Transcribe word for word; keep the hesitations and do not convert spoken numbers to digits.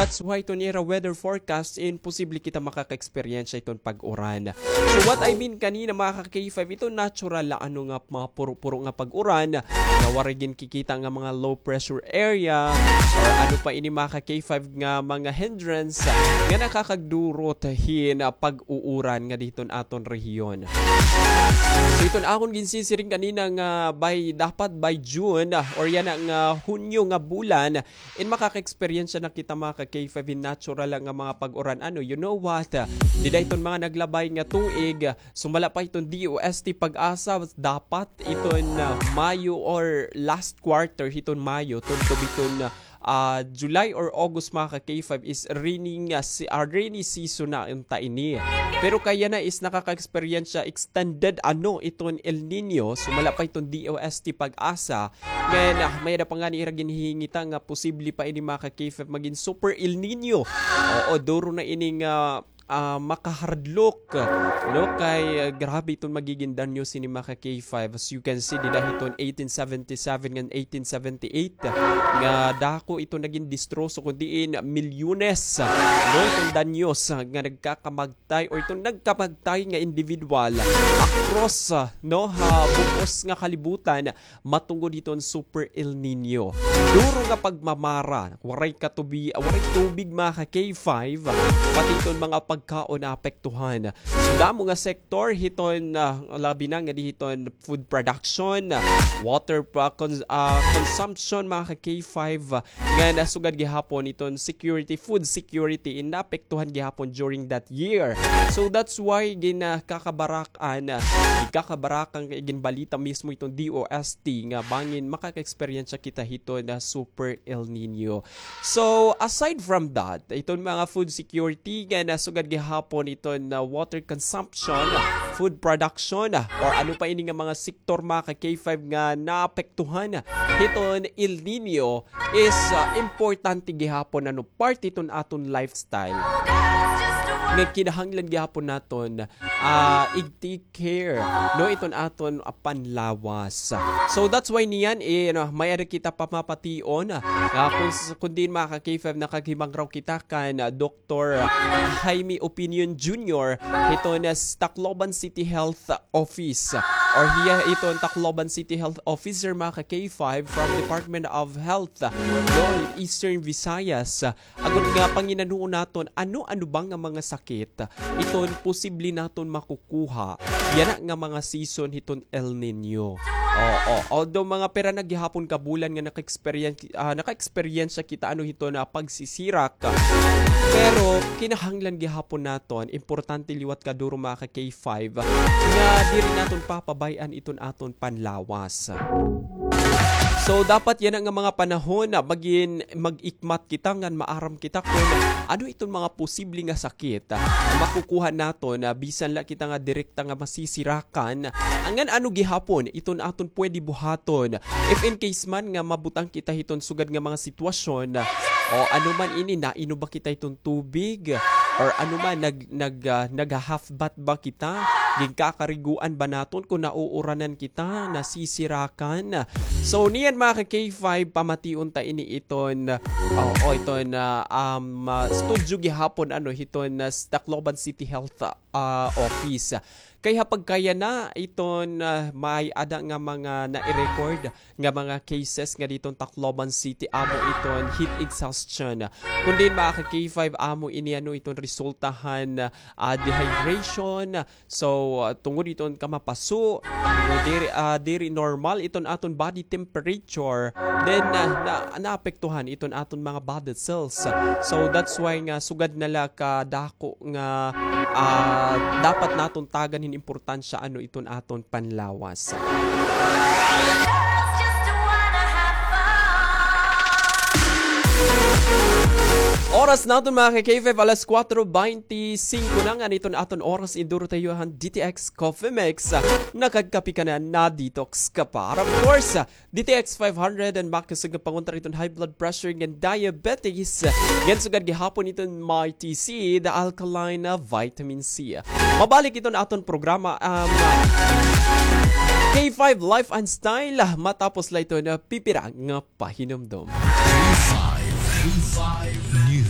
That's why iton ira weather forecast in posible kita makaka-experience iton pag-uran. So what I mean kanina, mga ka-K five, ito natural la ano nga mga puro-puro nga pag-uran, nga waray ginkikita nga mga low pressure area, or ano pa ini, mga ka-K five, nga mga hindrance nga nakakagdurot hin pag-uuran nga diton aton rehiyon. So iton akon ginsisiring kanina nga by, dapat by June, or yana nga Hunyo nga bulan, in makaka-experience na kita, mga ka-K five, hin natural nga mga pag-uran. Ano, you know what? Dida iton mga naglabay nga tuig, sumala pa iton D O S T PAGASA, dapat iton, ah, Mayo or last quarter hiton Mayo, tubtob hiton, ah, July or August, mga ka-K five, is rainy nga si-, ah, rainy season na unta ini. Pero kay yana is nakaka-experience siya extended ano iton El Nino, sumala pa iton D O S T PAGASA, ngan, ah, may-ada pa ngani ira ginhihingita nga posible pa ini, mga ka-K five, magin super El Nino. Oo, duro na ini nga, ah, makahardlook, no? Kay, ah, grabe iton magigin danyo sini, mga ka-K five. As you can see, dida hiton eighteen seventy-seven ngan eighteen seventy-eight, nga dako iton nagin distroso, kun diin milyones, no? Iton danyos, ah, nga nagkakamag- tay or iton nagkamagtay nga individual across, ah, no, ha bug-os nga kalibutan matungod hiton Super El Nino. Duro nga pagmamara, waray katubi-, waray tubig, mga ka-K five, pati iton mga pagkaon naapektuhan. So, damo nga sektor hiton, ah, labi na nga di hiton food production, water pa-, cons-, ah, consumption, mga ka-K five, nga nasugad gihapon iton security, food security, in naapektuhan gihapon during that year. So that's why ginakakabarak-an, ah, ginakabarakan, ginbalita mismo iton D O S T nga bangin makaka-experience kita hiton Super El Nino. So aside from that, iton mga food security nga nasugad gihapon iton water consumption, food production, or ano pa ini nga mga sektor, mga ka-K five, nga naapektuhan hiton El Nino is, ah, importante gihapon, ano, parte iton aton lifestyle. Nga kinahanglan gihapon naton, ah, i-take care, no, iton aton, ah, panlawas. So that's why niyan, eh, ano, may-ada kita pamapation, ah, kun s-, kun diin, mga ka-K five, nakahimangraw kita kan, ah, Doktor Jaime Opinion Junior, hiton Tacloban City Health Office. Or hiya iton Tacloban City Health Officer, mga ka-K five, from Department of Health, no, Eastern Visayas. Agod nga panginanuon naton, ano-ano ba nga mga sakit iton posible naton makukuha yana nga mga season hiton El Nino. Oo, although mga pira na gihapon ka bulan nga naka-experience, ah, naka-experience kita, ano, hiton pagsisirak. Pero kinahanglan gihapon naton, importante liwat kaduro, mga ka-K five, nga diri naton papabay-an iton aton panlawas. So dapat yana nga mga panahon, ah, magin-, mag-ikmat kita ngan maaram kita kon ano iton mga posible nga sakit, ah, makukuha naton, ah, bisan la kita nga direkta nga masisirakan. Ngan ano gihapon iton aton pwede buhaton if in case man nga mabutang kita hiton sugad nga mga sitwasyon, ah, o ano man ini, nainom ba kita hiton tubig, or ano man, nag-, nag-, ah, nagha-half bath ba kita? Ginkakariguan ba naton kon nauuranan kita, nasisirakan? So niyan, mga ka-K five, pamation ta ini iton, oo, iton, ah, um, ah, studio gihapon, ano, hiton, ah, Tacloban City Health, ah, Office. Kay ha pagkayana iton, ah, may-ada nga mga nai-record nga mga cases nga diton Tacloban City, amo iton heat exhaustion. Kun diin, mga ka-K five, amo ini, ano, iton resulta han, ah, dehydration. So, ah, tungod iton kamapaso, diri, ah, diri normal iton aton body temperature. Then, ah, na, naapektuhan iton aton mga body cells. So that's why nga sugad na la kadako nga, ah, dapat naton tagan hin importansya, ano, iton aton panlawas. Oras naton, mga ka-K five, alas kuwatro beintisingko na ngani iton aton oras. Iduro ta iyo han D T X Coffee Mix. Nakagkape ka na, na-detox ka pa. And of course, D T X five hundred, an makusog nga pangontra iton high blood pressure ngan diabetes. Ngan sugad gihapon iton Mighty C, the alkaline, ah, vitamin C. Mabalik iton aton programa, um, K five Life and Style, matapos la iton pipira nga pahinumdom. K five, K five.